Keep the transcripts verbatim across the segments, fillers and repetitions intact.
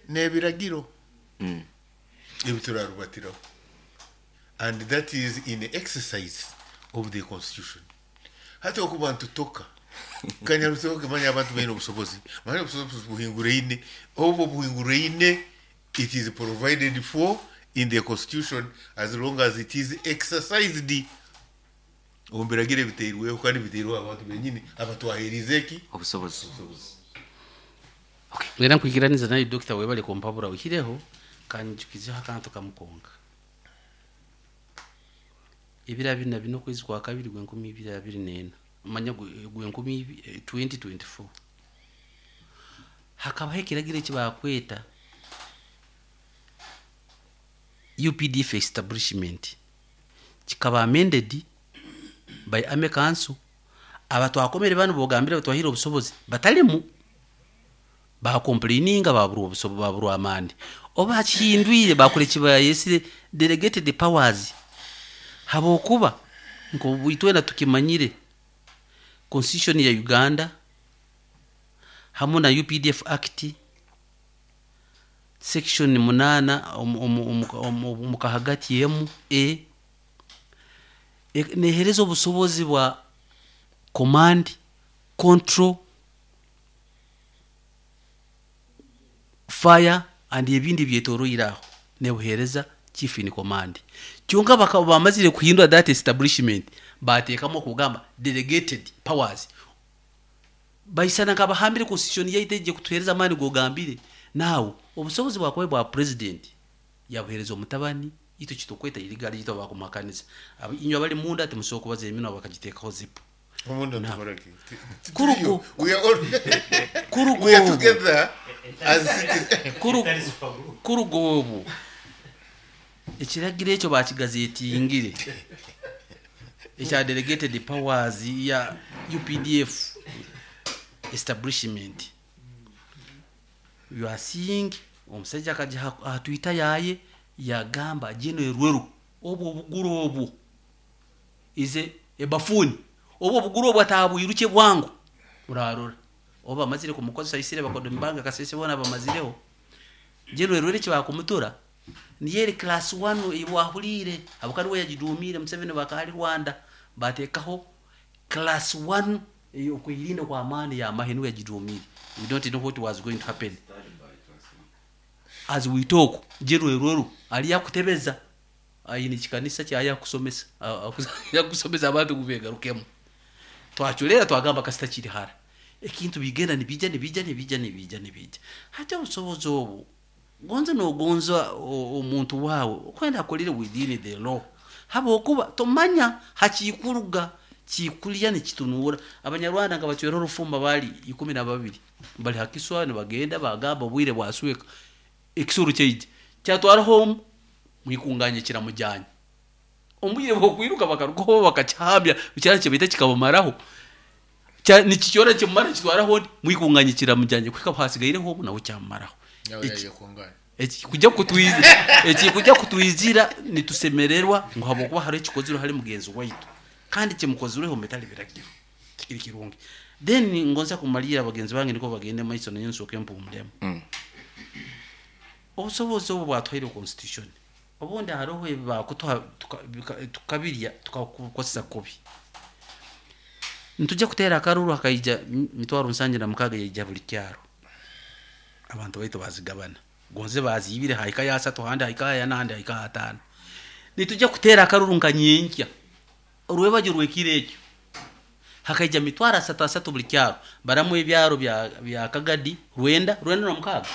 N'ebiragiro Mm. ebi turarubatiraho, and that is in the exercise of the constitution. Hati okuba ntutoka kanyarutoke, manya abantu baine obusobozi, manya obusobozi buhinguraine, obwo buhinguraine, it is provided for in the constitution as long as it is exercised omu biragiro ebiteirweho, kandi biteirweho abantu benyini abatwaherize eki? Obusobozi. Era nkwikiraniza naye, Dokita, webale kumpabura. Oihireho kanjukizeho akantu kamukonka. Ebiro abiri na bina okwezi kwa kabiri gwenkumi ibiri abiri nena, manya gwenkumi twenty twenty-four, hakabaho ekiragiro ekibakweta U P D F establishment, kikaba amended by Army Council. Abatwakomere banu bogambire batwahire obusobozi batalimu, bacomplaininga, baburwa obusobo, baburwa amani. Oba bakihindwire, bakora ekibayesire delegated powers, habwokuba nk'itwena tukimanyire, constitution ya Uganda hamu na U P D F Act section munana omu kahagati emu e nehereza obusobozi bwa command, control, fire and ebindi byetoroire aho, nebuhereza chief in command. Kyonka bakaba bamazire kuhindura that establishment, bateekamu okugamba delegated powers, baisana nkabahambire constitution yaitu ejje kutuhereza amaani gogambire. Nawe obusobozi bwakuba bwa president yabuhereza omutabani, itwe kitukweta irigali yitwa bakumakanisa. Inywe abali munda timusobola kubaza, eminwa bakagiteekaho zipu. Omunda tukoraki? Kurugo. We are all Kurugo. We are together as citizens. Kuruga obu ekiragiro ekyo bakigazetingire, ekya delegated powers ya U P D F establishment. You are seeing omusajja akajja aha Twitter yaye yagamba General Rweru obwo obuguru obwo ize ebafuni, obwo obuguru obwo atabwiruke bwangu. Urarora oba bamazire kumukozesa isire bakodo mbanga kasese bona bamazireho. General Rweru ekibakumutura niyo eri class one ebwahulire, habukari we yagiduumire Museveni bakali Rwanda, batekaho class one okwirinda kwa maani ya mahe, niwe yagiduumire. We don't know what was going to happen. As we talk, General Rweru ali yakutebeza, ayine ekikanisa kyayakusomesa, yakusomesa abantu kubegarukemu. Twaculera twagamba kasita kiri hara, ekintu bigenda nibija nibija nibija nibija nibija. Hati obusobozi obu, gonza nogonza omuntu wawe okwenda akolere within the law, habwokuba tomanya hakikuruga kikulya nikitunura. Abanyarwanda nga bacwera orufumba, bali ikumi na babiri bali hakiswa, nibagenda bagamba obwire bwasweka, ekisuru kyaija kyatwara home, mwikunganye kiramujyanye. Omwire bwokwiruka bakarugaho bakakihamya kyara kibaita kikabamaraho, nikikyora kimumara kitwaraho, mwikunganye kiramujyanye kwika hasigaireho nawe kyamumaraho. Eki kujya kutwizira, eki kujya kutwizira, nitusemererwa ngu habwokuba hari ekikozirwe hari mugenzi waitu, kandi kimukozireho metali biragiro kiri kirungi. Then ngonza kumalira abagenzi bange niko bagende maiso, nayo nsooke mpumulemu. Mm. Obusobozi obu bwatwaire constitution, obundi hariho ebi bakutuha tukabirya tukakukozesa kubi. Nitujja kuteera akaruru, hakaija mitwaro nsanju na mukaaga, yaija buli kyaro, abantu baitu bazigabana, gonze bazibire, haika ya asatu, handi haika ya nandi, haika ataano. Nitujja kuteera akaruru nka nyenkya orwebajo rwekiro ekyo, hakaija mitwaro asatu asatu buli kyaro, baramu ebyaro bya, bya Kagadi rwenda rwenda na mukaaga,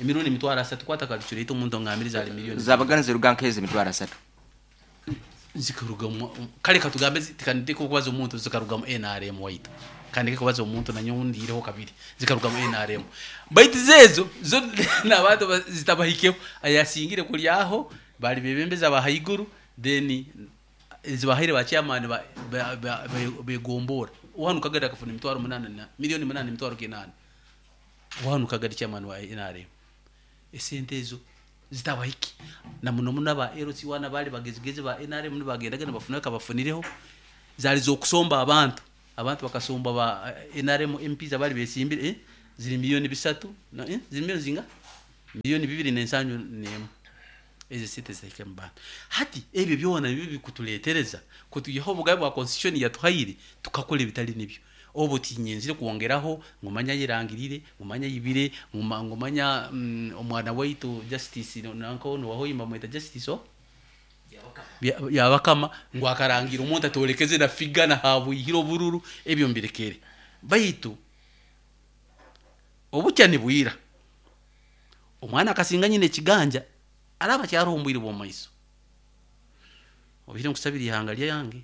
emirundi emitwaro asatu, kwata calculator omuntu ongambiriza ali miliyoni. Zabagana ziruga nk'ezi emitwaro asatu. Zikarugamu, kale katugambe tikandike kubaza omuntu, zikarugamu N R M waitu, kandike kubaza omuntu nanyo ndiireho kabiri, zikarugamu N R M. Baitu zezo zo n'abantu zitabahikeho, ayasingire kulyaho bali bebembeza ba haiguru, then zibahaire ba chairman ba begombora. Wanu Kagadi akafuna emitwaro munana na miliyoni munana emitwaro kinana, wanu Kagadi chairman wa N R M. Esente ezo zitabahiki na muno muno aba L C wana bali bagezigezi ba N R M nibagendaga nibafuna kabafunireho, zali zokusomba abantu, abantu bakasomba ba N R M M Ps abali besimbire, eh? Ziri miliyoni bisatu na, eh? Ziri miliyoni zinga Miliyoni bibiri n'ensanju n'emu ezo sente zitahika mu bantu. Hati ebyo byona nibyo bikutuleetereza kutuihaho obugabe bwa constitution yatuhaire, tukakora ebitali nibyo. Obu tinyenzire kwongeraho ngumanya yirangirire, ngumanya yibire, nguma- ngumanya mm, omwana waitu Justice nanko nuwahoyimba mweta Justice o Bya- yabakama ngu akarangira omuntu atolekeze na figa na habwihire obururu. Ebyo mbirekere, baitu obukya nibwira omwana akasinga nyina ekiganja araba kyaroho omubwire bw'omumaiso. Obihire nkusabira ihanga lyange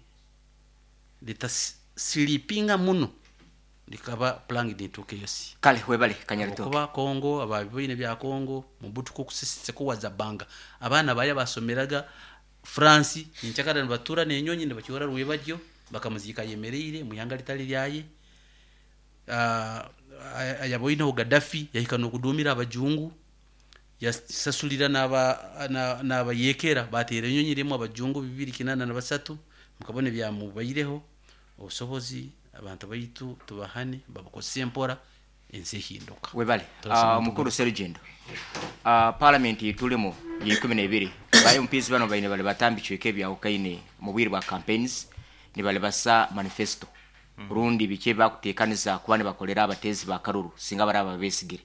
litasilipinga muno likaba planged nituuka eyosi. Kale webale Kanyaritoke. Okuba Kongo ababiboine bya Kongo mubutuku kusisise kuwaza banga abaana baya basomeraga France ninchakara nibatura nenyonyi nibakyora rwebajyo bakamuziika yemereire muihanga litali lyaye. uh, ayaboineho Gaddafi yahika nokudumira abajungu, yasasulira n'abayekera batera enyonyi rimu abajungu bibiri kinana na basatu mukabone byamubaireho. Obusobozi abantu baitu tubahane babukozese empora ensi ehinduka. Webale. Turasaba. uh, mukuru Serugendo, uh, parliament tulimo yikumi n'ebiri, ba M Ps bano baine bali batambi chweke byawukaine mu bwire bwa campaigns nibali basa manifesto rundi bike bakutekaniza kuba nibakolera abatezi ba karuru singa baraba besigire.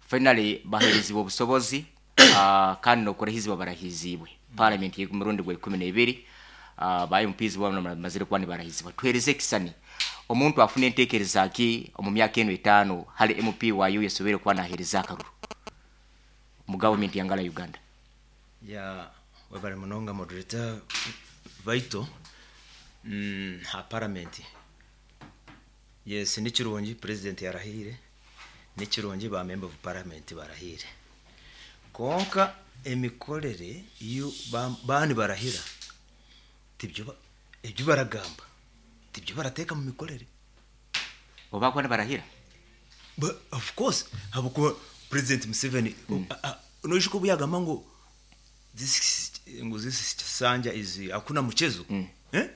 Finally baherezibwa obusobozi uh, kandi nokurahizibwa barahizibwe parliament y'umurundi gwa ikumi n'ebiri. uh, ba M Ps bano bamazire kuba nibarahizibwa. Tuhereze ekisani omuntu afune entekereza ki omu myaka eno etaano hali M P wayo yasobere kuba nahereza akaruru mu government yangala Uganda. Ya, webale munonga moderator vaito. mm, ha parliament, yes, ni kirungi president yarahire, ni kirungi ba member of parliament barahire, konka emikorere iyo ba- bani barahira tibyo ba- ibyo baragamba tibyo barateka mu mikorere. Oba kuba nibarahira? But of course, habukuba President Museveni mm. noishuko buyagamba ngo this ngo this sanja is hakuna mchezo mm. eh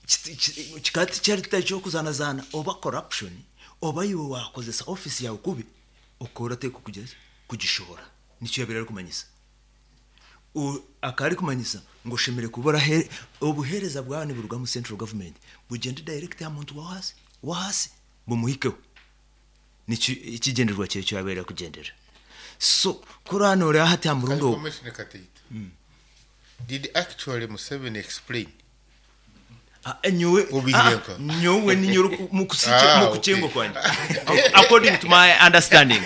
Kiti- ki- kikati kyali kyokuzanazana oba corruption oba iwe wakozesa office yawe kubi okora teko kugeza kugishora nicyo yabera ari kumanyisa. U- akaba ari kumanyisa ngo shemere kubora he- obuhereza bwawe buruga mu central government bugende direct ya muntu wa hasi wa hasi bumuhikeho. Nicyo ikigenderwa cye cyo yabera kugendera. So kuri hano rero hati murundo. Commissioner Kateita. Did actually Museveni explain? Ah, nyowe Ubihireka. ah, nyowe ni nyoro mu kusiche Ah, mu okay. kuchengo kwanje according to my understanding.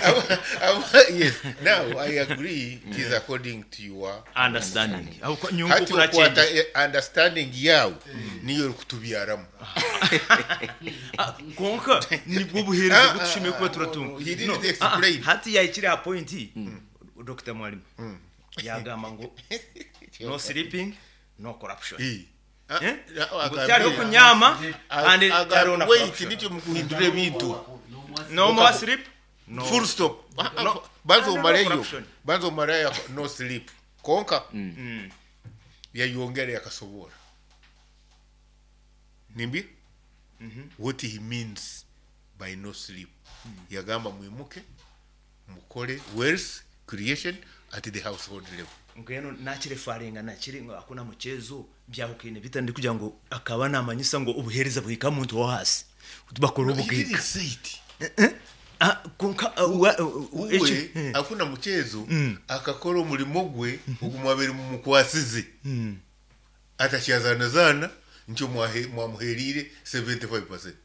Yes. Now I agree it is according to your understanding. Ahubwo nyungu hati kurachenje. okwata eh, understanding yawe niyo uri kutubyaramu. Konka nibwo buhereza butushimiye kuba turatunga. He didn't No, explain. ah, ah, hati yayikiri ha point Doctor Mwalimu yagamba ngo no sleeping, no corruption. Eh. Ah, Eh? ah, Ngo tyariho kunyama and tyariho na wait corruption. Nicyo mukuhindura ebintu. No more sleep, no Full stop. Ah, ah, No. banza No omaleyo corruption. Banza omaleyo no sleep konka yayongera yakasobora nimbi what he means by no sleep. Yagamba mwimuke mukore wealth creation at the household level. Ngweno nakirefaringa nakiri ngo hakuna mchezo byahukine bitandi kugira ngo akaba namanyisa ngo ubuhereza buhika muntu wo hasi bakora He ubugika. didn't say it. Ah, konka ah, wa- uh, uh, Uwe eki- hakuna mchezo akakora omulimo gwe ogumwabere mumukwasize atakyazanazana nkyo mwahe- mwamuherire seventy-five percent.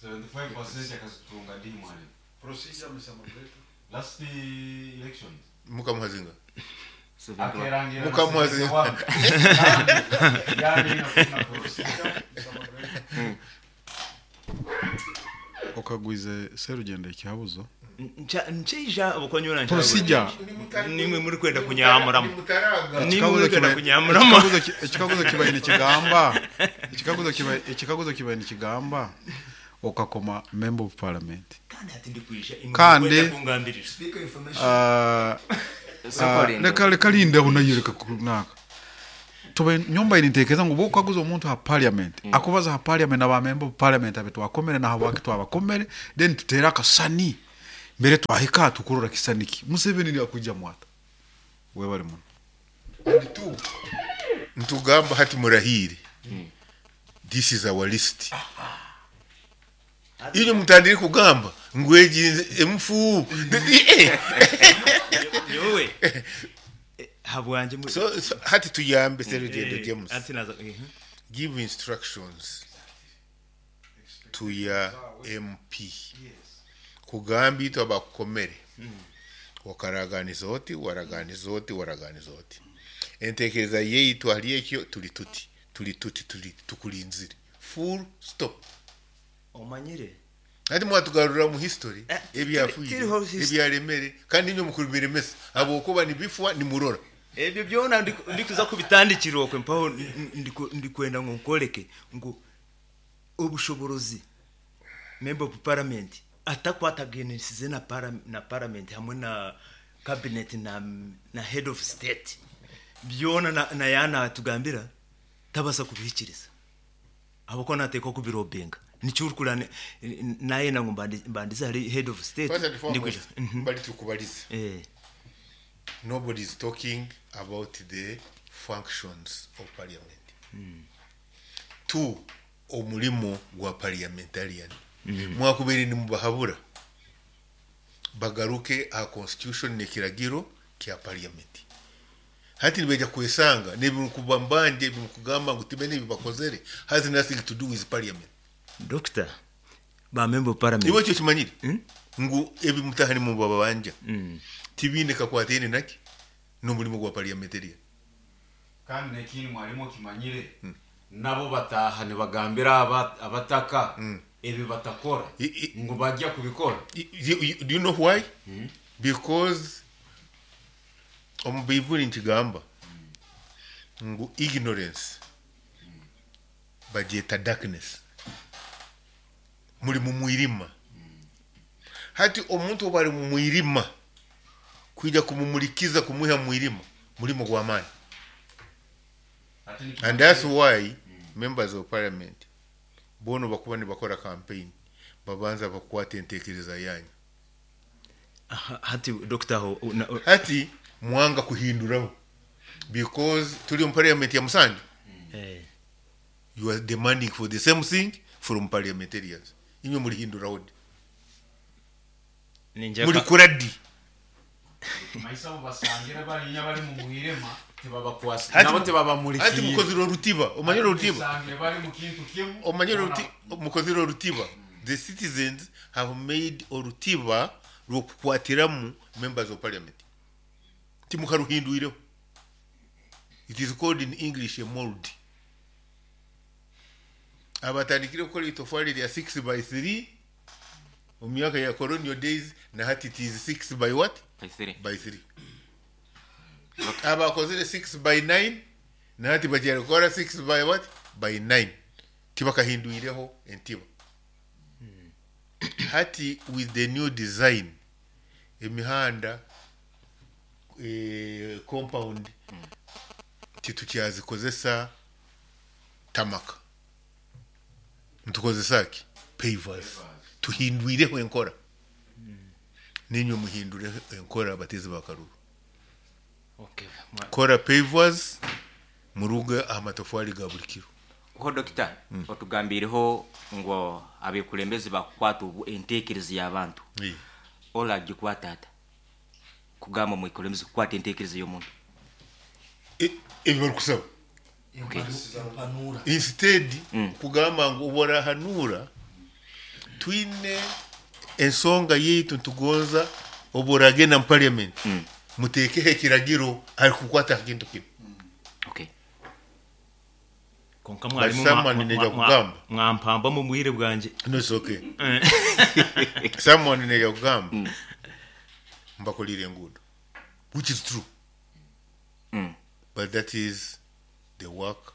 seventy-five percent akazitunga ndi mwalimu. Procedure, Mister Moderator. Last elections. Mukamuhazinga. Akerangira na Mukamuhazinga. seventy-one. Yani hakuna Procedure, Mister Moderator. Okagwize Serugendo ekihabuzo. Ncha- ncheija obukonyora. Procedure. Nimwe muri kwenda kunyamuramu. Nimutaraga. Nimwe muri kwenda kunyamuramu. Ekikaguzo ki- ekikaguzo kibaye nikigamba ekikaguzo kibaye ekikaguzo kibaye nikigamba okakoma member of parliament. Kandi ati ndikwisha. Kandi- kungambirira. Ah, ah, Linde. leka leka lindeho nayo leka kunaka tube nyumba inintekereza ngu bokaguza omuntu ha parliament akubaza ha parliament aba member of parliament abe twakomere na habwaki twabakomere, then tutere akasani Mbere twahika tukurora kisaniki. Museveni ni akuja mwata. Webale muno. And two, ntugamba hati murahire. This is our list. Iyo mutandire kugamba ngweginze emfu. Yowe habwanje mu- So, so hati tuyambe Serugendo Eh, James. ati naza eh, Give instructions to your M P. Kugamba itwe abakukomere. Wakaraganiza oti, waraganiza oti, waraganiza oti. Entekereza yeitu hali ekyo tuli tuti, tuli tuti, tuli tukulinzire. Full stop. Omanyire. Ati mwatugarura mu history Eh, ebyafuire, tiriho history. ebyaremere, kandi nimwe mukubiremesa. Abokuba nibifwa nimurora. Ebyo byona ndi- ndikuza kubitandikira okwe mpaho ndiku-, ndikwenda ngo nkoleke ngo obushoborozi member of parliament atakwatagenesize na para, na parliament hamwe na cabinet na, na head of state byona na, na yana tugambira tabasa kubihikiriza abako nateka kubirobenga nicyurkurane naye nango mbandi-, mbandiza hari head of state First and foremost, ndikuja. Mhm. bali tukubaliza. Eh. Nobody is talking about the functions of parliament. Mm. Two, omulimo gwa parliamentarian. Mm. Mwakubere ni mubahabura. Bagaruke a constitution nekiragiro kya parliament. Hati nibeja kwesanga nebimukubambanje bimukugamba ngu timene bibakozere has nothing to do with parliament. Doctor, ba member of parliament. Iwe cyo kimanyire? Mm? Ngu ebimutahani mu babanja. Mm. Tibine kakwatene naki n'omulimo gwa parliamentarian. Kandi nekini mwalimu kimanyire. Mm. Nabo bataha nibagambira aba-, abataka Mm. ebi batakora I-, i-, ngo bajya kubikora. I-, you, you, do you know why? Mm. Because omu Baibuli nkigamba ngu ignorance bagyeta darkness. Muri mu mwirima. Hati omuntu oba ari mu mwirima kwija kumumulikiza kumuha mwirima mulimo gwa maani. And that's why members of parliament bono bakuba nibakora campaign babanza bakwata entekereza yanyu. Aha, hati doctor ho, na, o, hati mwanga kuhinduraho because tuli mu parliament ya Musanju. Eh. You are demanding for the same thing from parliamentarians. Inywe muri hinduraho di. Ninja Muri ka- kuradi. Maisa bo basangira bari bari mu mwirema tibabakwasa. Hati Nabo mu- tibabamulikiye. Hati mukozi ro rutiba, omanye ro rutiba. Basangira bari mu kintu kimwe. Omanye ro ruti, mukozi ro rutiba. The citizens have made orutiba rwokukwatiramu members of parliament. Timukaruhinduireho. It is called in English a mold. Abatandikire gukora itofali rya six by three mu myaka ya colonial days na hati it is six by what? By three. By three. Abakozire six by nine na hati bagiye gukora six by what? By nine. Tibakahinduireho entiba. Hati with the new design emihanda eh, compound titukyazikozesa tamaka. Ntukozesa ki? Pavers. Tuhindwireho enkora. Ninyo muhindure enkora abatezi bakaruru. Okay. Mwa- Kora pavers muruga amatofali ga buli kiro. Ho doctor, Mm. otugambireho ngo abekulembeze bakukwata obu entekereza y'abantu. Yeah. Ola gikwata ata. Kugamba mukulembeze kukwata entekereza y'omuntu. E, ebyo barikusaba. Okay. Instead Mm. kugamba ngu oborahanura twine ensonga yeitu ntugonza oboragenda mu parliament. Mm. Mutekeho ekiragiro ari kukwata kintu kino. Okay. Konka mwarimu But someone mwa- neja mwa- mwa- kugamba. mwampamba mu bwire bwanje. No, it's okay. Someone neja kugamba. Mm. Mbakolire enguudo. Which is true. Mm. But that is the work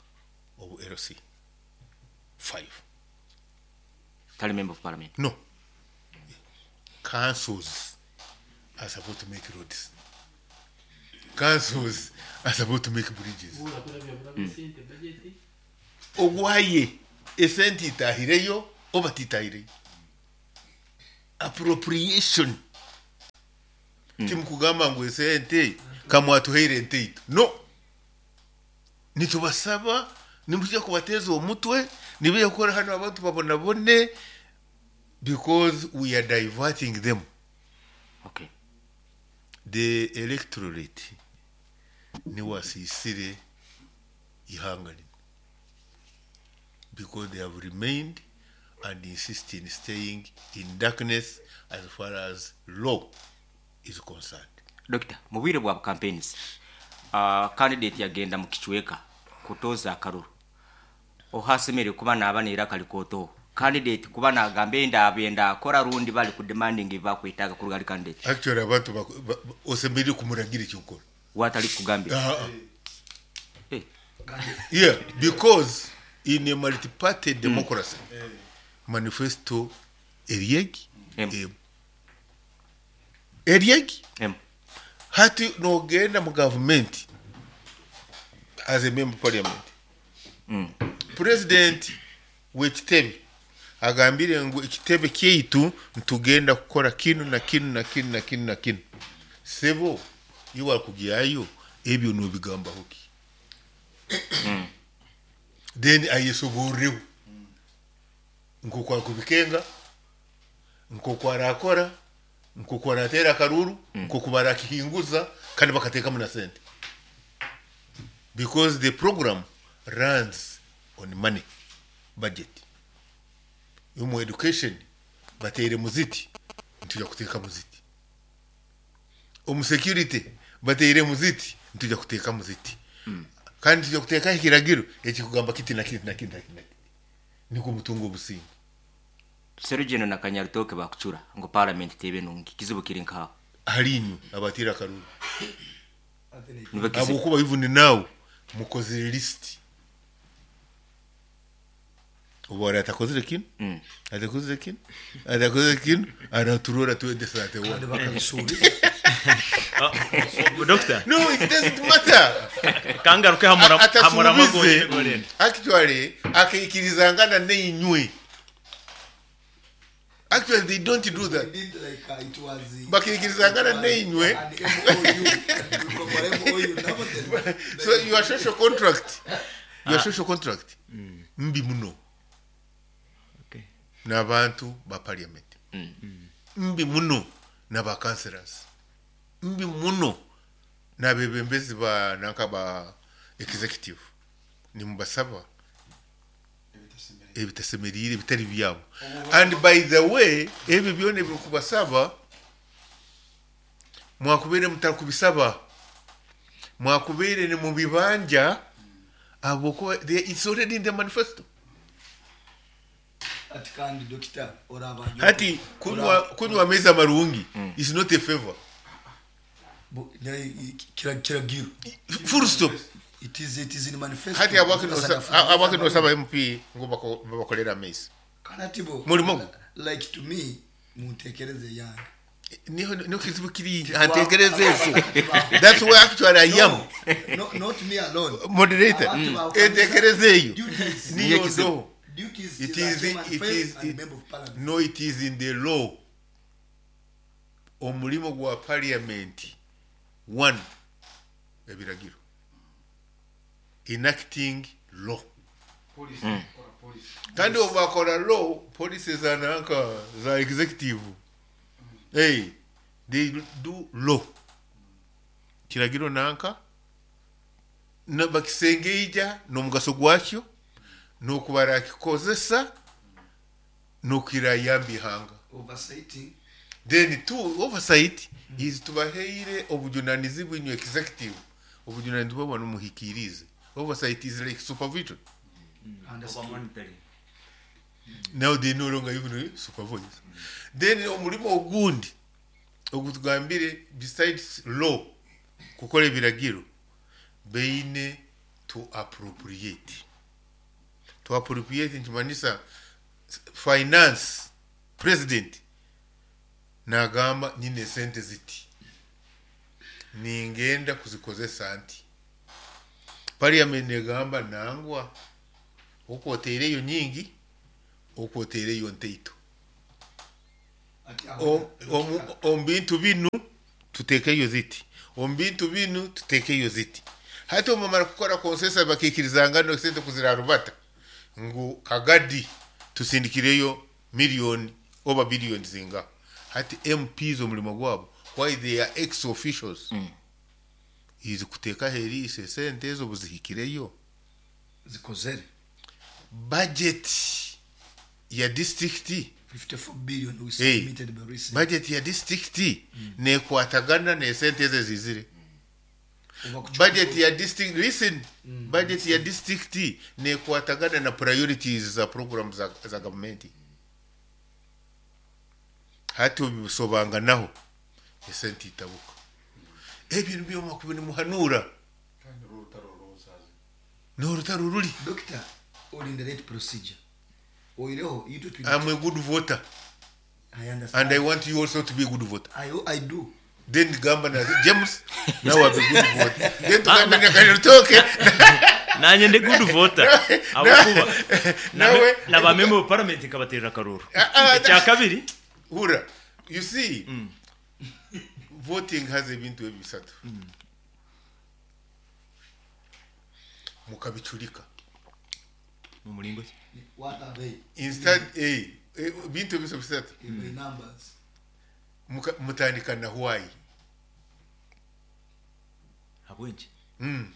of L C five. Tali member of parliament. No. Councils are supposed to make roads. Councils are supposed to make bridges. Mm. Ogwaye esente itahireyo oba titahireyo. Appropriation. Timukugamba ngu esente kamwatuheire enteitu no, nitubasaba nimujja kubateeza omutwe nibija kukora hano abantu babonabone because we are diverting them. Okay. The electorate niwasisire ihanga lino because they have remained and insist in staying in darkness as far as law is concerned. Doctor, mu bwire bwa campaigns uh, candidate yagenda mu kicweka kutoza akaruru ohasemere kuba naba nera kalikoto candidate kuba nagamba enda benda akora rundi bali ku demanding bakwitaga ku rugali candidate. Actually abantu osemere kumuragira ekyokora watali kugambira. Uh, uh. Eh. Yeah, because in a multi-party democracy mm. manifesto eriegi em. Eriegi em. Hati nogenda mu government as a member of parliament mm. President w'ekitebe agambire ngu ekitebe kyaitu ntugenda kukora kinu na kinu na kinu na kinu na kinu, sebo iwe akugyayo ebyo nobigambaho ki? Mm. Then ayesoboreho nkoku akubikenga, nkoku arakora, nkoku aratera akaruru, nkoku barakihinguza kandi bakateekamu na sente because the program runs on money budget. Yomu education bateire muziti ntuja kuteeka muziti, omu security bateire muziti ntuja kuteeka muziti mm. kandi tuja kuteekaho ekiragiro ekikugamba kiti na kiti na kiti na kiti niko mutungo obusinge. Serugendo na Kanyarutoke bakucura ngo parliament tebe nungi kizibu kiri nkaho halinyu abatira akaruru Nibakizi- abokuba even now mukozere list ubu atakozere kino Mm. atakozere kino atakozere kino araturora twende sate kandi one. bakabisubiza. Doctor, No, it doesn't matter. kangaruke hamura hamura Atasubize magoni. actually akaikirizangana neinywe. Actually they don't do that. Did like uh, it was uh, Bakikirizangana neinywe. an M O U. Tukakora M O U nabo then- So your social contract, your social contract mbi muno Okay. n'abantu ba parliament, mbi muno n'aba councillors, mbi muno n'abebembezi ba nanka ba executive. Nimubasaba ebitasemerire ebitari byabo. And by the way, ebyo byona ebirikubasaba mwakubeire mutarikubisaba, mwakubeire ni mubibanja abokuba it's already in the manifesto. Ati kandi doctor orabanje Hati kunywa kunywa amaizi amarungi is not a favor. Bu- ne- kira kiragiro Full stop. It is it is in manifesto. Hati abake nosaba M P ngo bako- babakolere amaizi Kandi ati bo Mulimo gwo. like to me muntekereze yange niho niho kizibu kiri antekereze ezo. That's where actually I am. No, no, not me alone. Moderator. Abantu bakomeza Entekereze eyo duties. niyo ndo Duties It is is a human it fail is and it, member of parliament. no, it is in the law. Omulimo gwa parliament one ebiragiro enacting law. Kandi obakora law policies za nanka za executive. Hey, they do law kiragiro nanka na bakisengeija n'omugaso gwakyo n'okubara kikozesa n'okirayamba ihanga. Oversighting. Then two, oversight is tubaheire obujunanizibwa inywe executive obujunanizibwa bwanu muhikirize. Oversight is like supervision. Understood. Now they no longer even supervise. Then omulimo ogundi ogutugambire besides law kukola ebiragiro beine to appropriate. To appropriate nkimanisa finance president nagamba nyine sente ziti ningenda kuzikozesa nti parliament negamba nangwa okwoteereyo nyingi okwoteereyo nteito. Ati aho- Omu bintu binu Tutekeyo ziti omu bintu binu tutekeyo ziti. Hati omumara kukora consensus bakikirizangana sente kuzirarubata ngu kagadi tusindikireyo miliyoni oba biliyoni zinga. Hati M Ps omulimo gwabo, why they are ex officials mm. is kuteka heri sente ezo buzihikireyo zikozere budget ya district fifty-four billion we submitted hey, by recent budget ya district mm. nekwatagana ne sente ezo zizire mm. budget ya district listen mm. budget ya district nekwatagana na priorities za programs za, za government. Hati obisobanga naho esente itabuka ebintu byoma kubini muhanura no rutaro ruri. Doctor, all in the right procedure. Oireho you do. I'm a good voter. I understand. And I want you also to be a good voter. I I do. Then gamba na James now I'm a good voter. Then tugambe na Kanyarutoke. Nanye ndi good voter. Abakuba. Nawe na ba member of parliament kabatera karuru. Ecya kabiri hura. You see, mm. voting has ebintu ebisatu. Mm. Mukabichulika. Mu mulingo what are they? Instead eh bintu ebisatu. Mm. Numbers. Mutandika na why. Habwenje. Mm.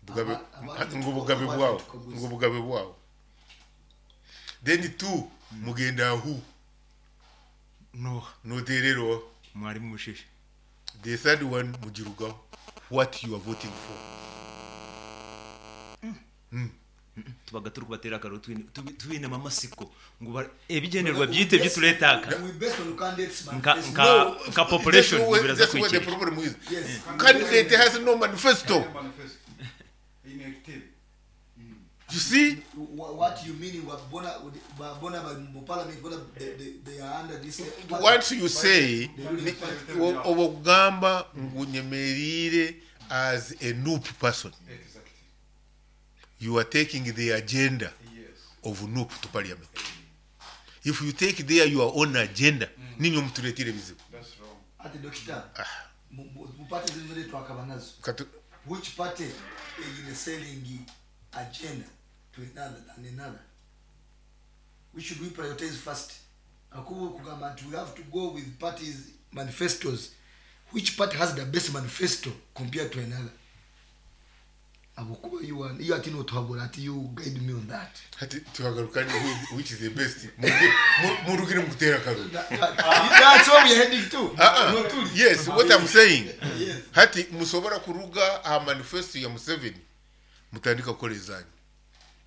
Bugabe ngubugabe bwawo, ngubugabe bwawo. Then two mugenda who? No. No terero. Mwalimu mushishe. The third one mujiruga what you are voting for. Mm. Mm. Tubaga turi kubatera akaro twine mamasiko ngo ebigenerwa byite byituletaka. We based on candidates manifesto. Nka nka population biraza kwikira. That's what the problem is. Yes. Candidate has no manifesto. Inactive. You see what you mean bona bona parliament bona they, they are under this. What you say obugamba ngunyemerire as a N U P person. Exactly. You are taking the agenda yes. of N U P to parliament. If you take there your own agenda, mm. ninyo mtuletire bizibu. That's wrong. Ati doctor, mu party zimwe twakaba nazo. Which party is selling agenda to another than another? We should we prioritize first? Akubu kugamba we have to go with parties manifestos. Which party has the best manifesto compared to another? Abukuba you are you ati no tuhabura ati you guide me on that. Ati tuhagarukani which is the best. Murugire mukutera karu. That's what we are heading to. Uh -uh. Yes, what I'm saying. Yes. Hati musobora kuruga a manifesto ya Museveni. Mutandika kolezanyu.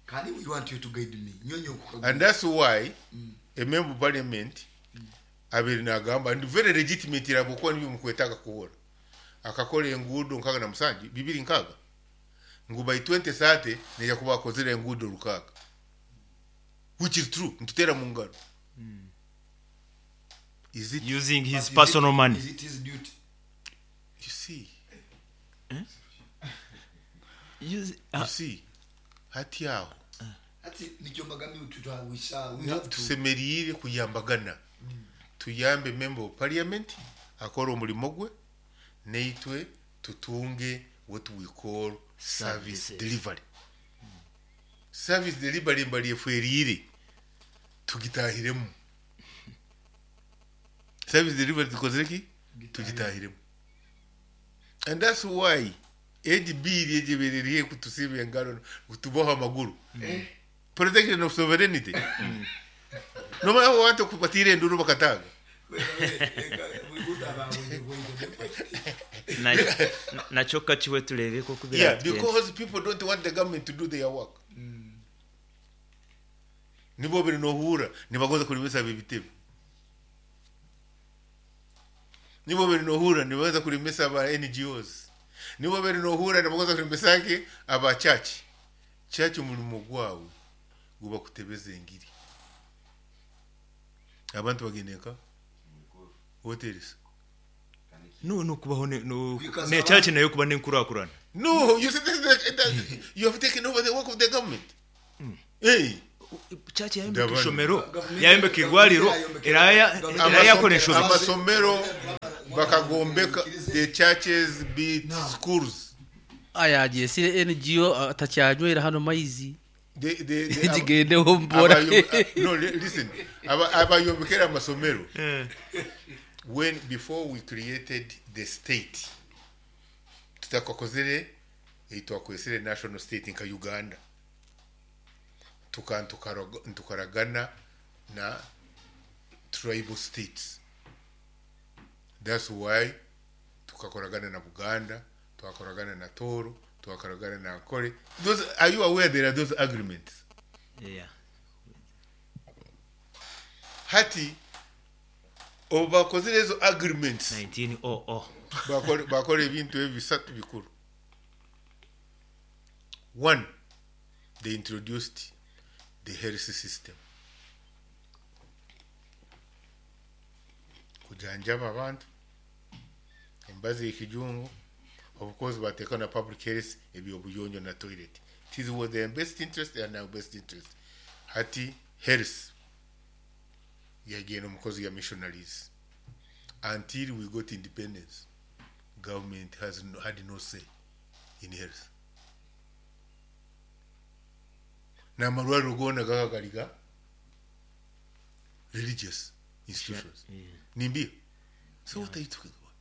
Kani we want you to guide me. Nyonyo. And that's why mm. a member of parliament mm. abiri nagamba and very legitimate rabuko nibyo mukwetaka kuhora. Akakora engudo nkaga na musanji bibiri nkaga. Ngu by twenty thirty neja kuba akozere engudo rukaga. Which is true. Ntutera mu ngaro. Mm. Is it using his But personal is it, money? Is it his duty? You see. Eh? Use, uh, you see. Hati aho. Ati nicyo mbagami tutawisa we have to tusemerire kuyambagana. Mm. Tuyambe member of parliament akora omulimo gwe neitwe tutunge what we call service delivery. Mm. Service delivery mbali efwerire tugitahiremu. Service delivery tukozereki tugitahiremu. And that's why A D B ryejebereriye kutusiba engalo kutuboha amaguru. Mm. Protection of sovereignty. Mm. No matter what kubatire nduru bakataga. Na nacho kachiwe tulebe ko kubira. Yeah, because people don't want the government to do their work. Mm. Nibo biri no hura nibagoza kulimesa bibitebe. Nibo biri no hura nibaza kulimesa ba N G Os. Nibo biri no hura nibagoza kulimesa ke aba church. Church umulimo gwawe guba kutebeza engiri. Abantu bageneka hotels. No no kubaho ne no ne church nayo kuba nenkurakurana. No, you see this, that, you have taken over the work of the government. Mm. Hey, church yayombeka ishomero, yayombeka igwariro, iraya iraya koresha amasomero Bakagombeka the churches beat schools. Aya jesire N G O atacyanywera hano maizi. The the the Zigendeho mbora. No, listen. Abayombekera amasomero. When before we created the state, tutakokozere itwakwesere national state nka Uganda. Tukantukaragana na tribal states. That's why tukakoragana na Buganda, tukakoragana na Toro, tukakoragana na Ankole. Those, are you aware there are those agreements? Yeah. Hati obakozere ezo agreements nineteen oh oh. Bakore bakore ebintu ebisatu bikuru. One, they introduced the health system. Kujanjaba abantu embazi y'ekijungu, of course bateeka na public health ebyobuyonjo na toilet. It is was their best interest and our best interest. Hati health yagenda omukozi ya missionaries until we got independence. Government has no, had no say in health. N'amalwaliro goona gakagaliga religious institutions. Yeah. Nimbia. So what are you talking about?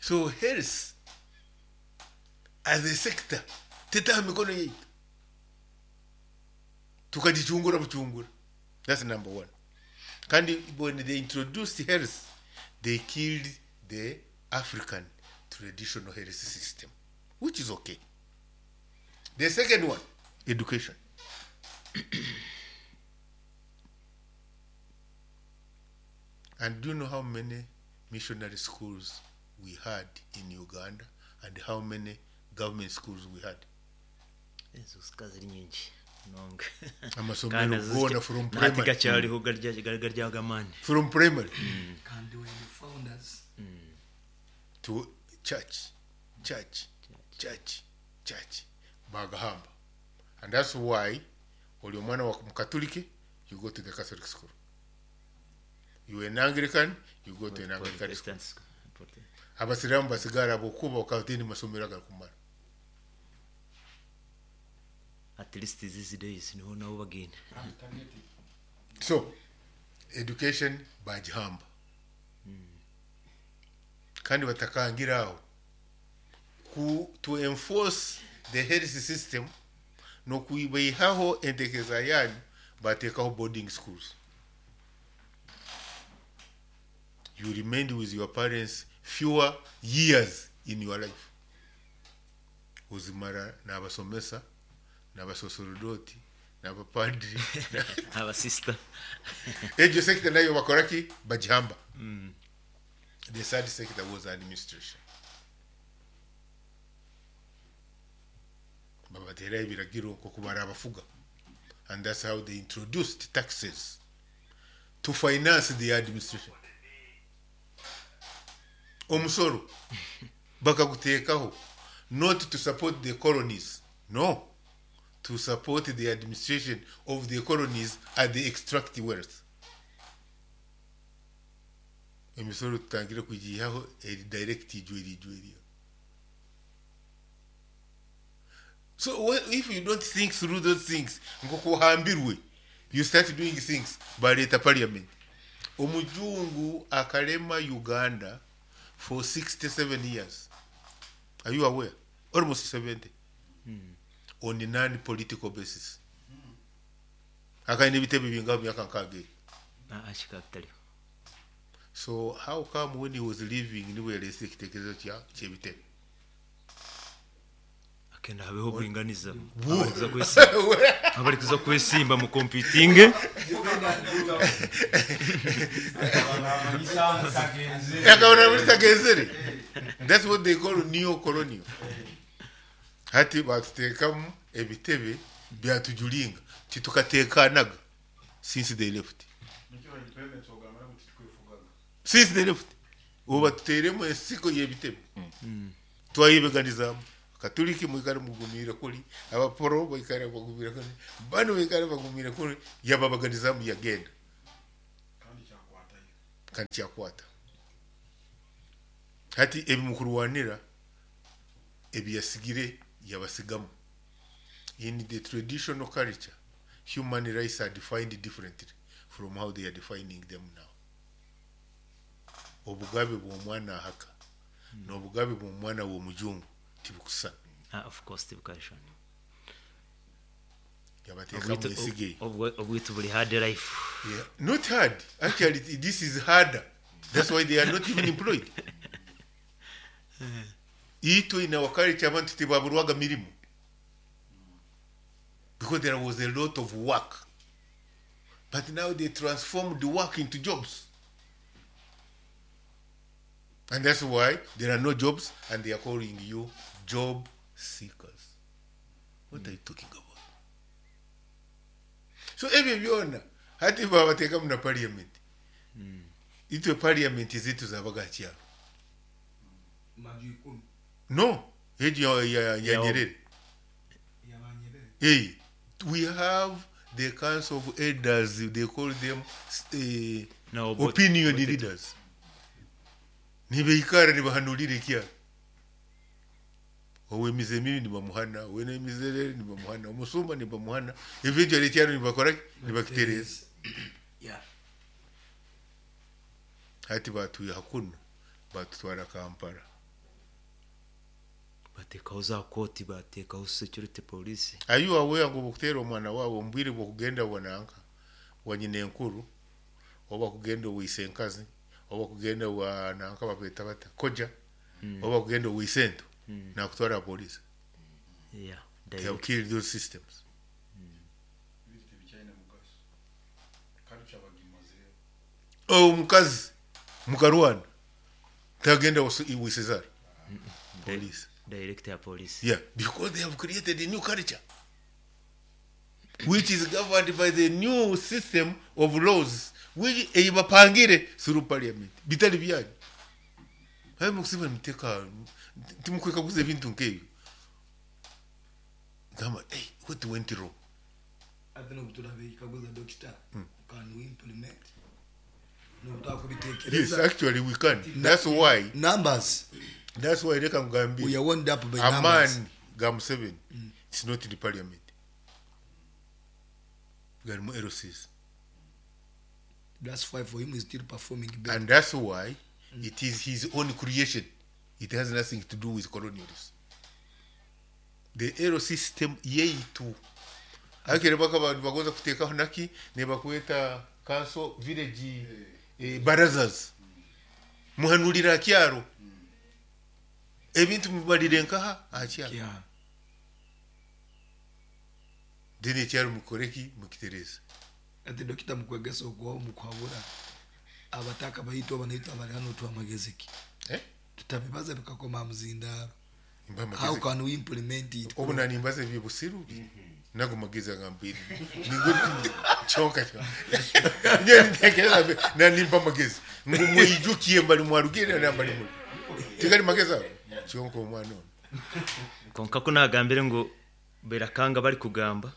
So health as a sector tetaha mikono yetu tukajichungura buchungura. That's number one. Kandi when they introduced health, they killed the African traditional health system, which is okay. The second one, education. And do you know how many missionary schools we had in Uganda and how many government schools we had? Amasomero gona from primary. From primary. Kandi we the founders. Mm. To church, church, church, church. Bagahamba. And that's why oli omwana wa Mukatoliki, you go to the Catholic school. You an Anglican, you go to an Anglican school. Abasiramu basigara bokuba okatini masomero agakumara. At least these days niho nabo bagenda. So education bagihamba. Mm. Kandi batakangiraho ku to enforce the health system no kuibaho entekeza yanyu batekaho boarding schools. You remained with your parents fewer years in your life. Uzimara n'abasomesa n'abasosorodoti n'abapadiri abasista. Ejo sector nayo bakoraki bagihamba. Mm. The third sector was administration. Babatera ibiragiro ko kubara abafuga. And that's how they introduced taxes to finance the administration. Omusoro bakagutekaho not to support the colonies, no, to support the administration of the colonies at the extract wealth. Emisoro tutangire kujihaho eri direct ijweri ijweri. So if you don't think through those things, ngokuhambirwe, you start doing things baleta parliament. Omujungu akalema Uganda for sixty-seven years. Are you aware? Almost seventy. Mm. On a non-political basis. Akaine bitebe bingaho myaka nkage. So how come when he was leaving niwe yarese ekitekerezo kya kyebitebe? Akenda habeho buringaniza. Abari kuza kwesimba mu competing. That's what they call neo-colonial. Hati batutekamu ebitebe byatujulinga titukatekanaga since they left. Since they left. Ubu batuteremo ensiko y'ebitebe. Twayibeganizamu. Katoliki mwikare mugumira kuri, abaporo mwikare bagumira kuri, bano mwikare bagumira kuri, yababaganizamu yagenda. Kandi kyakwata. Hati ebimukurwanira ebiyasigire yabasigamu. In the traditional culture, human rights are defined differently from how they are defining them now. Obugabe bw'omwana ahaka n'obugabe bw'omwana w'omujungu tibukusana. Ah, of course tibukashana. Yabateeka mu nsige. Obwitu buli hard life. Yeah. Not hard. Actually, this is harder. That's why they are not even employed. Itwe in our culture abantu tibaburwaga mirimu. Because there was a lot of work. But now they transformed the work into jobs. And that's why there are no jobs and they are calling you job seekers. What are you talking about? So ebyo byona hati babateekamu na parliament. Itwe parliament zitu zabaga kyalo. No, ejo ya, ya, ya Nyerere. Hey, we have the council of elders, they call them uh, No, but- opinion but it- leaders. Nibeikara nibahanulire kyalo. Owemize mibi nibamuhana, owenemizerere nibamuhana, omusumba nibamuhana, eventually ekyalo nibakora nibakitereza. Yeah. Hati batuye hakuno batutwara Kampala. Batekaho za koti, batekaho security police. Are you aware ngu bukutera omwana wawe ombwire bwokugenda wananka wa nyina enkuru oba kugenda owiise enkazi oba kugenda wa nanka bakweta bata koja Mm. oba kugenda owiise ento Mm. nakutwara police. Yeah, They have direct. killed those systems. Oh, omukazi mukarwana tagenda wisezara police. Director ya police. Yeah, because they have created a new culture which is governed by the new system of laws which eyibapangire through parliament. Bitali byanyu. Hayi mukusiba muteka timukwekaguza ebintu nk'ebyo. Gamba, hey, what went wrong? Ate n'obuturabe doctor, Mm. can we implement? Yes, actually we can. That's why numbers. That's why reka ngambire. We are wound up by a numbers. man ga Museveni, it's not in the parliament. Garimu L Cs. That's why for him he's still performing better. And that's why it is his own creation. It has nothing to do with colonialism. The L C system yeitu. Akere baka abantu bagonza kutekaho naki ne bakweta council village eh, barazas. Muhanulira kyaro. Ebintu mubalire nkaha akyaro. Yeah. Then ekyaro mukoreki mukitereza. Ate dokita mukwegesa okuwa mukwabura abataka bayitu abanayitu abali hano twamagezi ki? Eh? Tutabibaza bikakoma muzindaro. Mba amagezi. How can we implement it? Obu nanimbaza ebyobusiru nago magezi agambire ningo kyonka nye ntekereza nanimba amagezi ngu mwijukiye mbali mwarugire na mbali muli tigali magezi ago kyonka omwana ono Konka ko nagambire ngo berakanga bari kugamba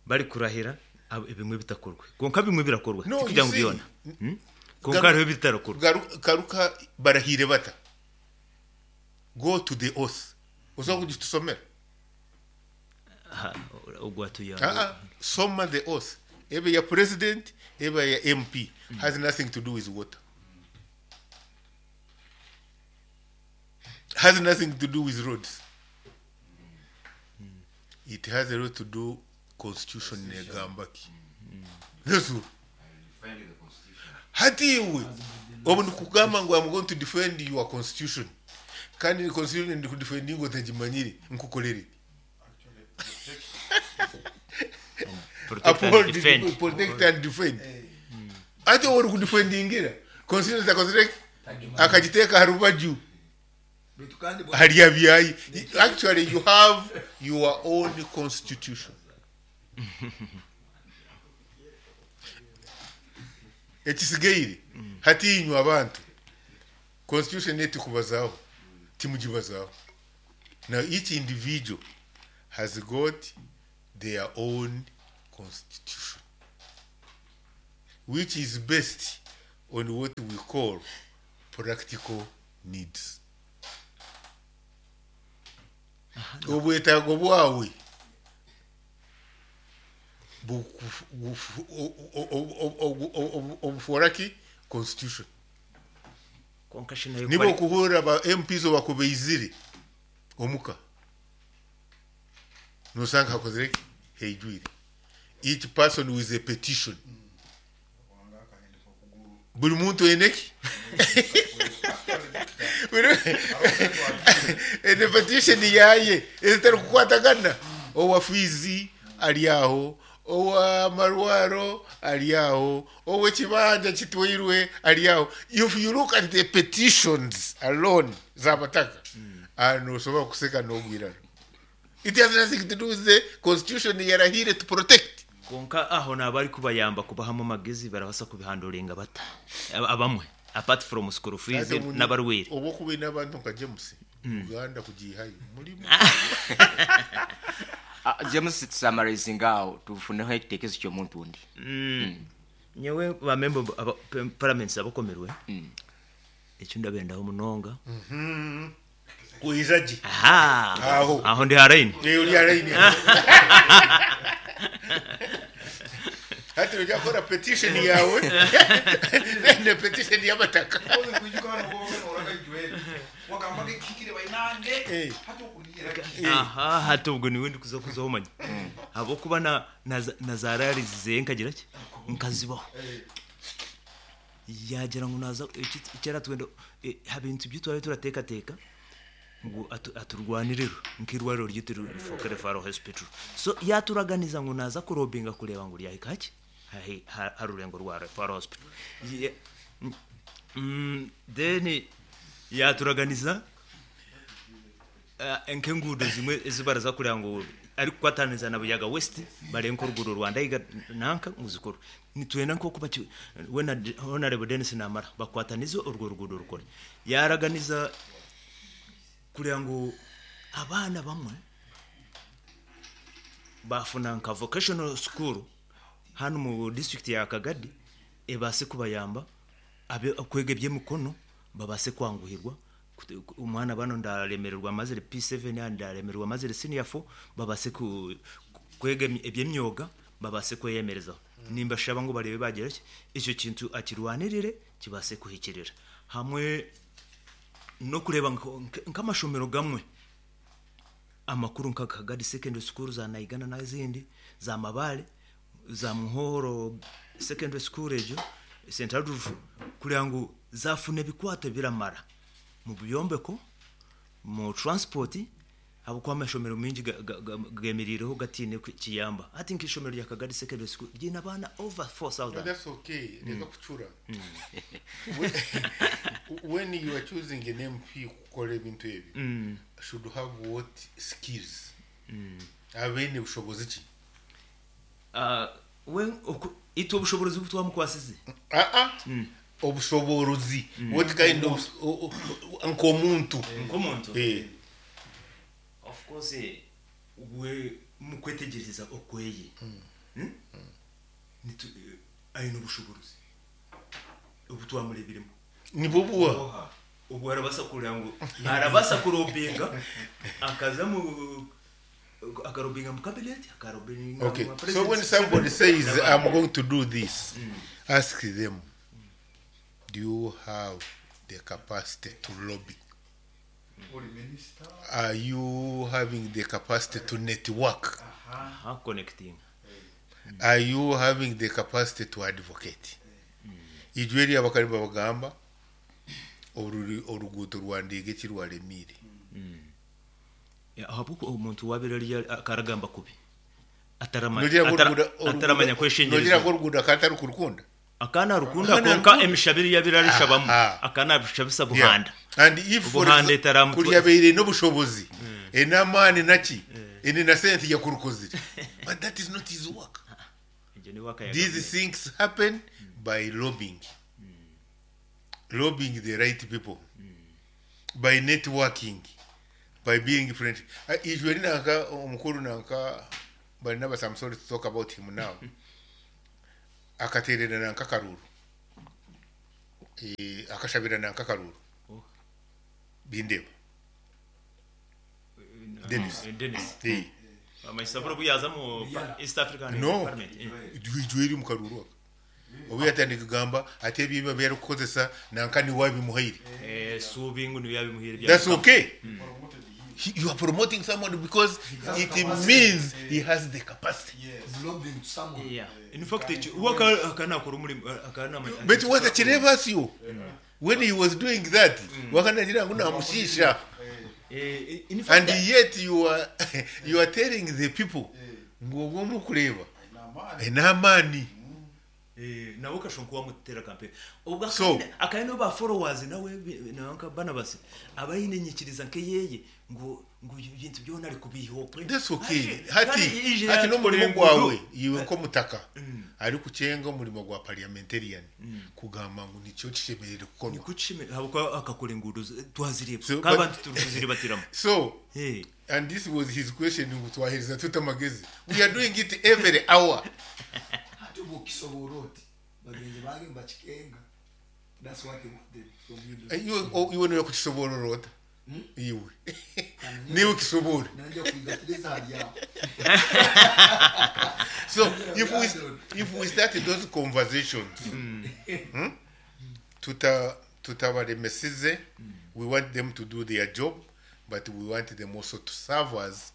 bari kurahira abo- ebimwe bitakorwe. Konka bimwe birakorwa No, tikugira you ngo see, byona. Hmm? Konka hariho ebitarakorwa. Garu- garuka barahire bata go to the oath uza kugitusomera Ha, ogwatuya. Ah, ah, soma the oath ebe ya president ebe ya M P has nothing to do with water, has nothing to do with roads. It has a lot to do constitution negambaki. That's all. Hati iwe obu nikugamba ngu I'm going to defend your constitution kandi ni constitution ndikudefendinga otagimanyire nkukorere. Protect and Uphold, defend. protect and defend. Ate ori kudefendingira constitution takozire akagiteeka harubaju hali abyayi. Actually you have your own constitution. Ekisigaire hatinywa abantu constitution etikubazaho timugibazaho. Now each individual has got their own constitution which is based on what we call practical needs. Obwetaago bwawe obufuoraki constitution. Nibo okuhurra ba M Ps obakubeizire omuka nosanga hakozireki heijwire. Each person with a petition. Buli muntu eneki ene petition yaye ezitari kukwatagana. Owa fizi ali aho, owa marwaro ali aho, owa kibanja kitwairwe ali aho. If you look at the petitions alone zabataka, ano osobola kuseka n'ogwirano. It has nothing to do with the constitution yarahire to protect. Konka aho nabari kubayamba kubahamu amagezi barabasa kubihanduringa bata abamwe apart from school fees n'abarwire obo kuba n'abantu nka James Uganda kugihayo mulimu. James summarizing aho tufuneho ekitekezo ky'omuntu undi. Nyewe ba member parliament abakomerwe ekyo ndabendaho munonga. Kuizaji aha aho ndi haraini uri haraini. Hati ujakora petition yawe ne petition y'abataka aha hati ubwo niwe ndi kuza kuzaho manya abo kuba na na zararize nkagira ki nkazibaho yagira ngo naza ikera twenda habintu byitwaye turateka teka ngo aturwaniriro nkirwariro ryitiro Fokere Faro Hospital. So yaturaganiza ngo naza kurobinga kureba ngo ryahika haki harurengo rwa Faro Hospital. Mm then yaturaganiza enkengudo zimwe ezibaraza kureba ngo ari kwataniza na Buyaga West barenko ruguru Rwanda iga nanka muzikuru nitwena nko kuba we na Honorable Dennis Namara bakwataniza urwo rugudo rukore. Yaraganiza kugira ngo abana bamwe bafuna nka vocational school hano mu district ya Kagadi ebase kubayamba abe kwege by'emikono babase kwanguhirwa. Umwana bano ndaremererwa amazire P seven ndaremererwa amazire senior four babase kwege eby'emyoga babase kweyemerezaho. Nimba shaba ngo barebe bagera icyo kintu akirwanirire kibase kuhikirira hamwe no kureba nkamashomero gamwe amakuru nka Kagadi secondary school za Naigana n'izindi za Mabale za Muhoro secondary school ejo Central Roof kugira ngo zafune bikwato biramara mu buyombeko mu transport abo kwa mashomero mingi gemirireho gatine kiyamba. I think ishomero rya Kagadi secondary school ryina bana over four thousand. No, that's okay. Reka kuchura. When you are choosing an M P kukora ebintu ebi, should have what skills? Abene bushobozi ki? Ah, when ito bushobozi butwamukwasize. Ah ah. Obushobozi. What kind of nkomuntu? Nkomuntu. Eh. Of course we mukwetegereza okweye. Mm. Nitu ayino bushobozi obutwamurebiremo ni bubuwa ubwo arabasa kurira ngo arabasa kurobinga akaza mu akarobinga mu cabinet akarobinga. Okay, so when somebody says I'm going to do this, mm. ask them, do you have the capacity to lobby? Are you having the capacity to network? Uh-huh. Connecting. Are you having the capacity to advocate? Ijweri abakari babagamba oruguto rwandege kirwalemire. Ya ahabuko omuntu wabirali akaragamba kubi. Ataramanya ataramanya kweshengereza. Nogira ko ruguda katari kurukunda. Akana rukunda konka emishabiri yabiralisha akana bishabisa buhanda. And if for kuryabeire no bushobozi enamani naki ene na sente ya kurukozire. But that is not his work. These things happen by lobbying. Lobbying the right people. By networking. By being friendly. Ijweri nanka omukuru nanka Barnabas, I'm sorry to talk about him now. Akaterera nanka karuru. Eh, akashabira nanka karuru Oh. bindeba Dennis. Eh, Dennis. Eh. Amaisaburo buyaza mu pa- East African No. Parliament. Eh. Ijweri mu karuru aka obu yatandika kugamba ate ebyo byarikukozesa nanka niwe abimuhaire. Eh, subingu niwe yabimuhaire bya- That's okay. He, you are promoting someone because it means he has the capacity. Yes. Lobbying to someone. Yeah. In fact, ekyo- uwo aka- akanakora omurimo akanama. But watakireba asyo when he was doing that, wakanagira ngu namushisha. Eh, in fact, And yet you are you are telling the people ngu ogwo omukureba n'amaani. Eh, nawe kashonka wamutera campaign. Ubwo So- akandi akandi no ba followers nawe bi- nanka Barnabas abayine nyikiriza nkeyeye ngo ngo ibintu byona ari kubiho. That's okay. Hati hati n'omurimo gwawe iwe nk'omutaka ari kucenga omurimo gwa parliamentarian kugamba ngu nikyo kishemerere kukorwa. Nikuchime habwo akakora ingudu twazireba So, kabantu but- turi kuziribatiramo. So, Hey. and this was his question ngu twahereza tuta amagezi. We are doing it every hour. Ate bw'okisobola oti bagenzi bange mbakikenga. That's what they wanted from you. Eh, iwe o- iwe niwe kukisoborora ota iwe niwe kisobora. Nanja kuigatiriza hali yao. So if we if we start those conversations, hmm, tuta tutabaremesize. We want them to do their job, but we want them also to serve us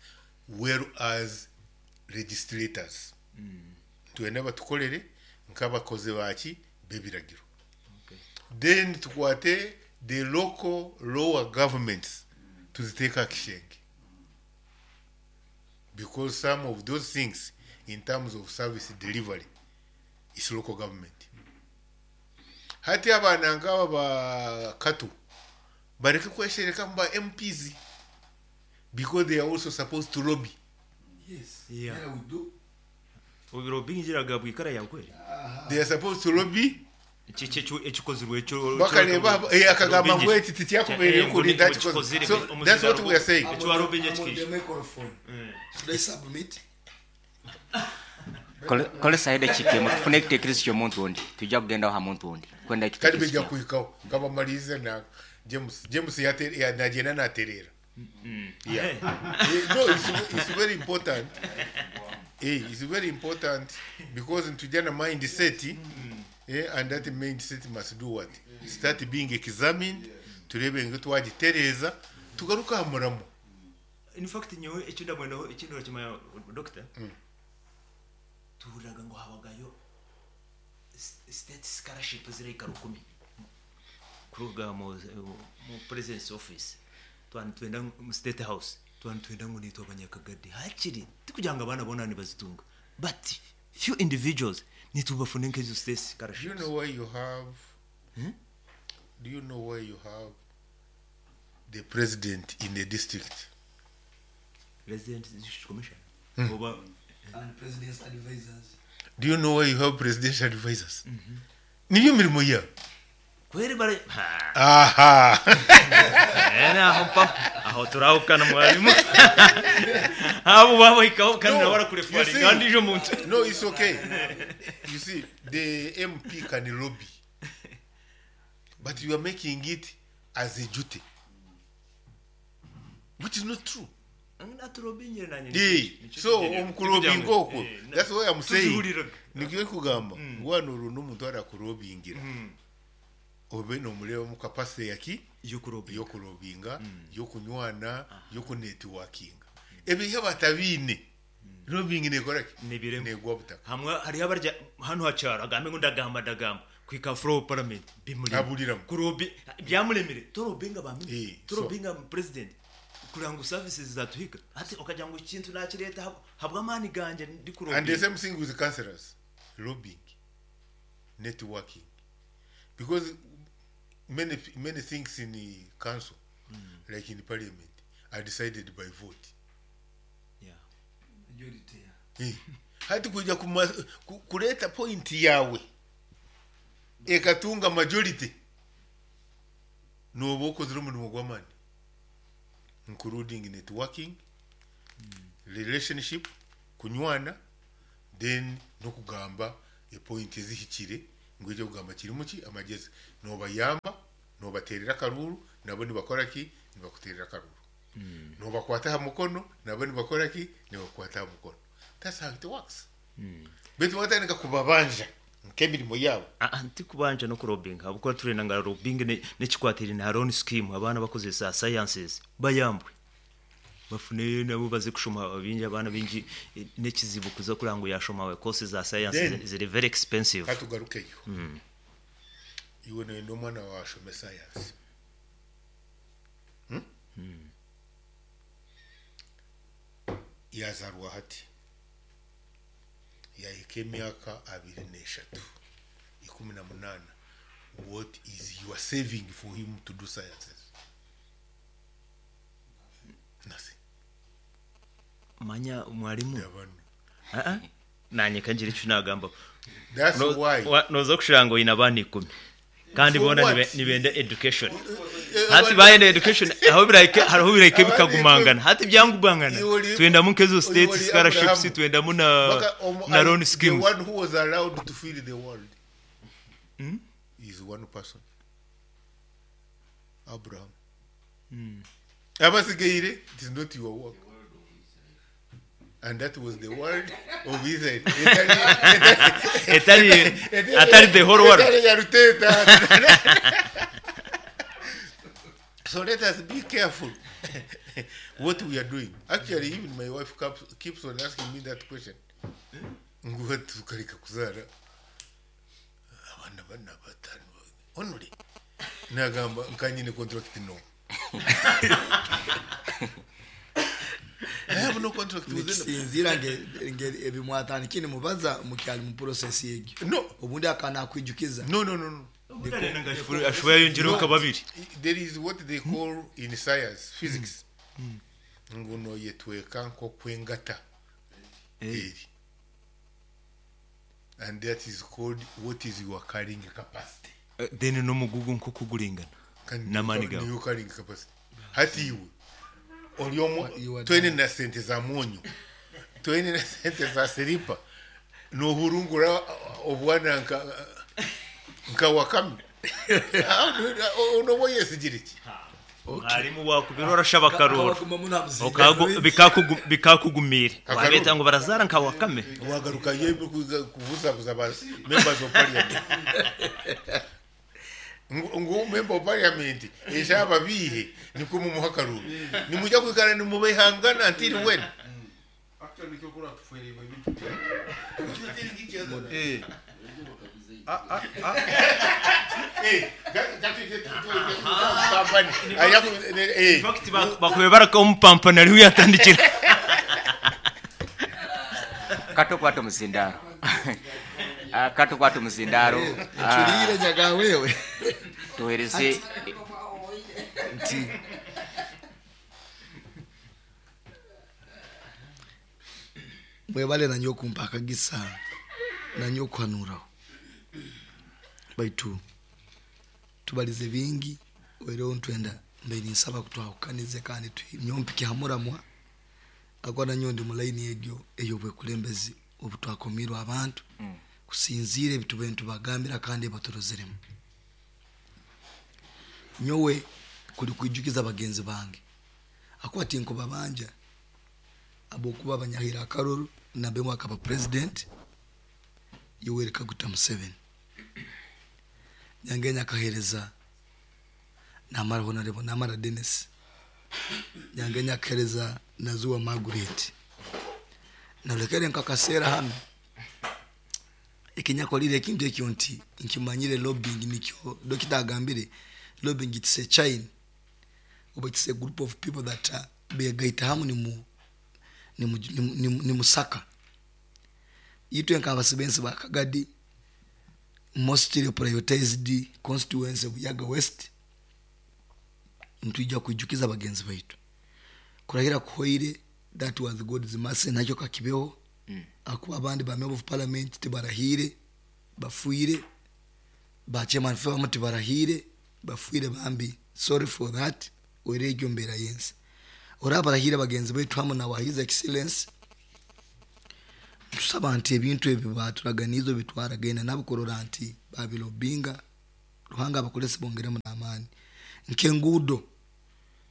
well as legislators. Twena batukolere nk'abakozi baki b'ebiragiro. Then tukwate the local lower governments tuziteeka kishenge, because some of those things in terms of service delivery is local government. Hati abaana nk'aba ba katu bareke kweshereka mu ba M Ps because they are also supposed to lobby. Yes. Yeah. Yeah, we do. Obiro bingiraga bwikara yawe kweli. They are supposed to lobby. Iki iki ekikozirwe ekyo Bakareba eh, akagamba ngu eki tikyakubeire kurinda kikoze. So that's what we are saying. Ekyo warobinye I'm on kikisha. the microphone. Should I submit? Kolesa edakika emu tufune ekiteekerezo ky'omuntu ondi, tujja kugendaho ha muntu ondi kwenda Kati ekiteekerezo bijja kyawe. kuhikaho kabamalize na James. James yate- ya- nagenda naterera. Yeah. Eh, no, it's, it's very important. Eh, it's very important because ntujana mindset, eh, and that mindset must do what? Start being examined. Turebe ngu twagitereza tugaruka aha muramo. In fact, nyowe ekyo ndabwenaho ekindi orakimanya, doctor, tuhuriraga ngo habagayo s- state scholarship zirahika rukumi kuruga mu mu president's office, twani twenda mu State House, twani twenda ngo nitwa abanyakagadi hakiri tikugira ngo abana bona nibazitunga, but few individuals nitubafune nk'ezo state Do you scholarships. know why you have do you know why you have the president in the district? Resident District Commission oba And president's advisors. Do you know why you have presidential advisors? Niyo mirimo yabo. Kweri bare ha. Aha. Eh, naho mpa aho turahukana mwarimu abo babahikaho kandi No, nabo barakurefari you see- kandi ejo muntu. No, it's okay. You see, the M P can lobby, but you are making it as a duty, which is not true. Naturobingire nanjye. Eh, so omukulobinga okwo, that's why I'm saying Tuzihuriraga. Nikyo kugamba wano olwo n'omuntu arakulobingira obe nomureba mu capacity yaki yokulobinga, yokunywana, yokunetworkinga. Ebyo batabiine, lobbying nekoraki? Nibiremo. Negwa butaka. Hamwe hariho abarya hano hacyaro agambe ngo ndagamba ndagamba kwika floor parliament bimurimo. Aburiramo. Kurobi byamuremere torobinga ba Eh, minister torobinga president kugira ngo services zatuhika ati ukagira ngo ikintu nakireta hab- habwa amani ganje ndi kurobinga. And the same thing with the councillors, lobbying, networking, because many many things in the council, like in the parliament, are decided by vote. Yeah. Majority, yeah. Eh, hati kuja kuma, ku, kuleta point yawe ekatunga majority noba okozire omurimo gw'amaani, including networking, relationship, kunywana, then nokugamba epoint ezihikire. Ngu ekyokugamba kirimu ki amagezi nobayamba nobaterera akaruru nabo nibakora ki nibakuterera akaruru Mm. nobakwata aha mukono nabo nibakora ki nibakukwata aha mukono. That's how it works. Mm. Baitu watandika kubabanja nk'emirimo yaabo. Ah, ntikubanja no kurobinga habwokuba turenda nga lobbying ne- nekikwatiraine ha loan scheme abaana bakozesa sciences bayambwe bafune nabo baze kushoma bingi abaana bingi eh, nekizibu kuza kuranga ngu yashoma courses za science Then- ziri very expensive. Katugarukeyo. Mm. Iwe noyenda omwana wawe ashome science. Hmm? Mm. Yazarwa hati yahika emyaka abiri n'eshatu ikumi na munana, what is your saving for him to do sciences? Nothing. Manya mwalimu. Ah, ah. Nanye kangira icyo nagamba. That's No- why. wa- noza kushira ngo ina abana ikumi kandi For bona what? nibe- nibenda education. Eh, Hati abana- bayenda education aho birahike hariho birahike Abana bikagumangana ikumi. hati byangubangana Iwe twendamu nkezo iwe state uri scholarships Abraham. twendamu na Baka omu- na loan the schemes. one who was allowed to fill the world Hmm? is one person, Abraham. Mm. Abasigaire, it is not your work. And that was the world of Israel. Etari- atari the whole world. Etari ya Ruteta. So let us be careful what we are doing. Actually, even my wife keeps, keeps on asking me that question. Ngu tukareka kuzaara abaana bana batano only. Nagamba nkanyine contract no. I have no contract with them. Nikisinzira nge- nge ebimwatandikire nimubaza mukyali mu process egyo. No. Obundi akana akwijukiza. No, no, no, no. Ashobora yongereho nka babiri. There is what they call in science, physics. Ngu noyetweka nk'okwengata eri. And that is called what is your carrying capacity. Eh, then n'omugugu nkokuguringana Kandi n'amaani gawe. niyo carrying capacity. Hati iwe ori omu You are twene na sente za mwonyo twene na sente za siripa nohurungura obwana nka nka wakame onoba oyesigire ki? Mwarimu wakubira orashaba akaruru Akabaguma munamuzinga. Okagu- bikakugu- bikakugumire Akaruru. wabeta ngo barazara nka wakame. Wagaruka yembe kubuzabuza ba members of parliament ngu ngu member of parliament eshaba bihe niko mumuha akaruru nimujya kwikara nimubehangana until when? Actually, nikyo kura tufuerewe ebintu. Eh. Ah, ah, ah. Eh, In fact, bak- bakube barakamupampana ariho yatandikira. Katokwata omuzindaro. Ah, katokwata omuzindaro. Nculiire nyaga wewe. Tuhereze Nti mwebale nanyo okumpa akagisa nanyo okuhanuraho baitu tubalize bingi oireho ntwenda mbe ninsaba kutwahukanize kandi nyompike hamuramwa akwa nanyo ndi mulaini egyo ey'obwekulembezi obutwakomirwe abantu Mm. kusinziira ebitube ntubagambira kandi baturozeremu nyowe kuli kwijukiza bagenzi bange akuba tinkubabanja abokuba banyahira akaruru nabemwe akaba president Yoweri Kaguta Museveni Nyangenya akahereza Namara Honorable Namara Dennis Nyangenya akahereza Nazuwa Margaret nalekere nkakasera hano ekinyakolire ekintu ekyo nti nkimanyire lobbying nikyo dokita agambire lobbying it's a chain oba it's a group of people that uh, begaita hamu nimu nimu, nimu, nimu, nimusaka itwe nk'abasibensi ba Kagadi mostly prioritized constituency Buyaga West ntwijja kwijukiza bagenzi baitu kurahira kuhoire that was God's mercy nakyo kakibeho Mm. akuba abandi ba member of parliament tibarahire bafuire ba chairman famu tibarahire bafuire bambi sorry for that oire egyo mbeera yensi ora barahire bagenzi baitu hamu na wa his excellence tusaba nti ebintu ebyo baturaganizo bitwaragaine nabo kurora nti Babilobinga Ruhanga abakolese bongeremu n'amaani. Nk'enguudo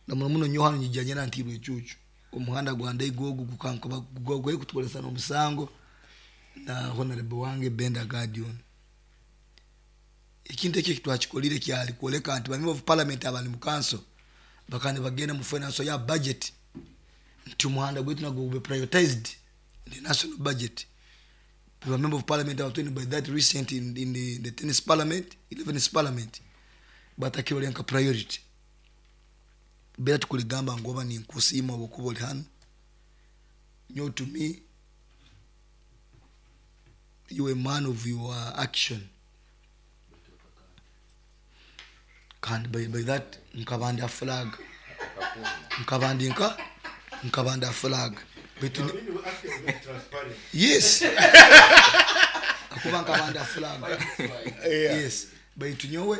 na muno muno nyowe hanu nyijja nyena ntiirwe ecuucu omuhanda gwa Ndaiga ogu gukankuba gwe kutukolesa n'omusango na honorable wange Benda Guardian. Ekintu ekyo kitwakikolire kyali kwoleka nti ba member of parliament abali mu council bakandi bagenda mu finance ya budget nti omuhanda gwaitu nagwo gube prioritized in the national budget. The member of parliament abatweni by that recent in, in the, the tenth parliament, eleventh parliament batakirolenka priority. Bera tukuligamba ngoba ni nkusiima obukuba oli hano. Nyo to me you a man of your action. Kandi by, by that nkabandi a flag. Nkabandi nka nkabandi a flag. But yes. Akuba nkabandi a flag. Yes. But nyowe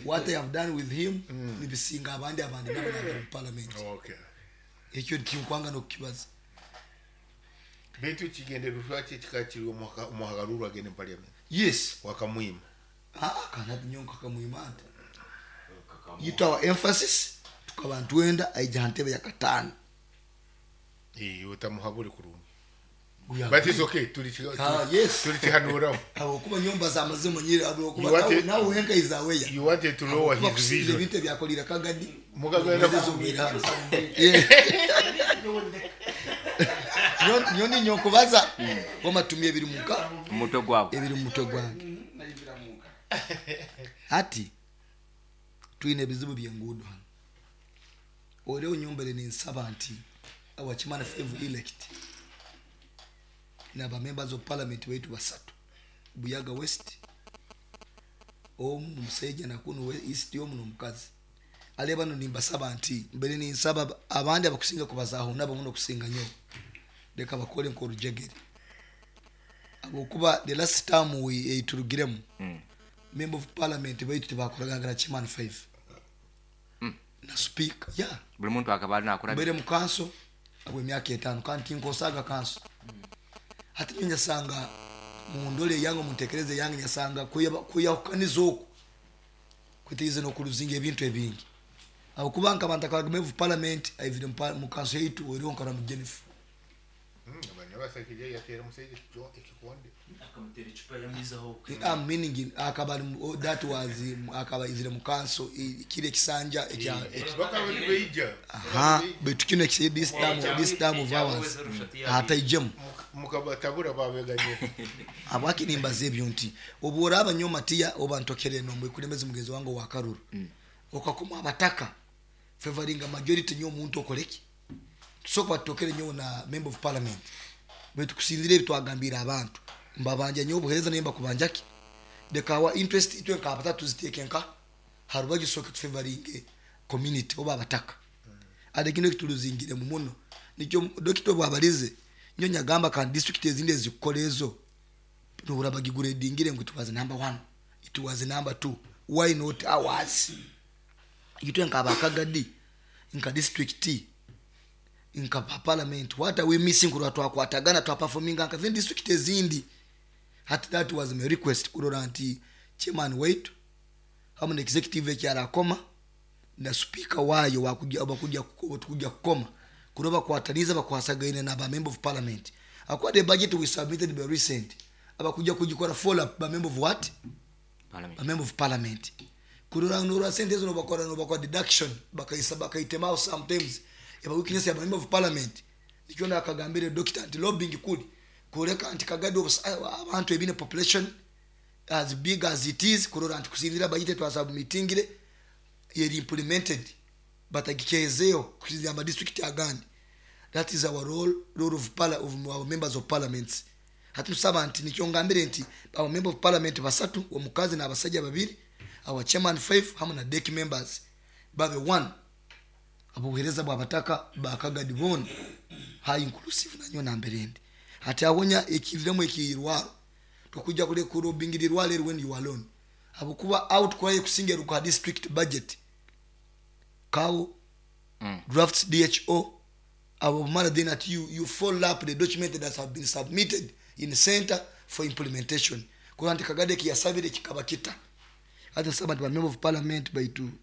what I have done with him mm. nibisinga abandi abandi nabo mu parliament. Oh, okay. Ekyo tinkwanga nokukibaza. Betu kigendererwa ki kikakiri omuhagarurwa agende mu parliament? Yes. Wakamwima. Ah, kana nyonka kamwima ati. Yitu our emphasis tukaba ntwenda aija ntebe ya katano. Eh, utamuhaburi kurungi. But it's okay tuli ah, yes. Tuli kihanura. Abo kuba nyomba za mazimo nyiri abo kuba nawe henka izaweya. You wanted to lower his vision. Ebintu byakolira Kagadi. Mugagenda kuzumira. Nyoni nyokubaza wamatumye ebiri muka mutwe gwawe. Ebiri mutwe gwange. Ati tuine ebizibu by'enguudo hano. Oleo nyombere ninsaba nti our chairman five elect na ba members of parliament wetu basatu Buyaga West omu musajja na kuno East omu n'omukazi ale bano nimbasaba nti mbere ninsaba abandi abakusinga kubazaho nabo muno kusinga nyo leka bakole nkorujegere abokuba the last time we eiturugiremu mm. member of parliament wetu tebakoragana chairman five mm. na speaker yeah buli muntu akabali nakora mbere mu council abo emyaka etaano kandi tinkosaga council mm. Hati nyasanga mundole yango muntekereze yange nyasanga kuyahukaniza oku kwitize no kuluzinga ebintu ebingi abo kubanka abantu akaba of parliament aivire mu council yitu wero nkara mu Jennifer mm abana basakije yatera musajja ekikonde akamutera icupa yamizaho I'm meaning akaba that was akaba izire mu council kile kisanja ekya bakaba aha but kino ekisi this time this time of ours hataijemu mukabatabura babeganye abaki nimbaze ebyo nti obora abanyoma tiya obantokere no mwikulembeze mugenzi wange wa Karuru mm. okakoma abataka favoringa majority nyo omuntu okoleki tusoka batokere nyo na member of parliament betu kusinzire bitwagambira abantu mbabanja nyo obuhereza nemba kubanjaki dekawa interest itwe nka abatatu ziteke nka harubaji soka favoringe community oba abataka mm. ade kino kituluzingire mu muno nikyo dokito bwabalize nyo nyagamba kan district ezindi ezikolezo nubura bagiguredingire ngo it was number one it was number two why not ours itwe nka abakagadi nka district nka parliament what are we missing kurwa twakwatagana twa performing nka then district ezindi hat that was my request kurora nti chairman wait hamu executive ekyarakoma na speaker wayo wakujja abakujja kujja kukoma kuroba kwataniza bakwasagaine na ba member of parliament akwa the budget we submitted by recent abakujja kujikora follow up ba member of what parliament ba member of parliament kurora nura sentence no bakora no bakora deduction bakaisa bakaitema sometimes eba weakness ya member of parliament nikyona akagambire doctor anti lobbying kuli kureka anti Kagadi abantu ebine population as big as it is kurora anti kusinzira budget twa submittingire yeri implemented batagikezeyo kusinzira ama district agandi. That is our role role of parliament of our members of parliament. Hatusaba nti nikyongambire nti our member of parliament basatu omukazi n'abasajja babiri our chairman five hamu na deck members babe one abuhereza bwabataka bakagadi bona high inclusive nanyo namberende ati awonya ekiviremo ekirwaro tokujja kule kurobingirirwa lero when you are alone abukuba out kwaye kusinga ruka district budget kawo mm. drafts D H O abo mara then at you you follow up the document that have been submitted in center for implementation Kurora nti Kagadi ekiyasabire kikaba kita. Hati nsaba nti ba member of parliament baitu.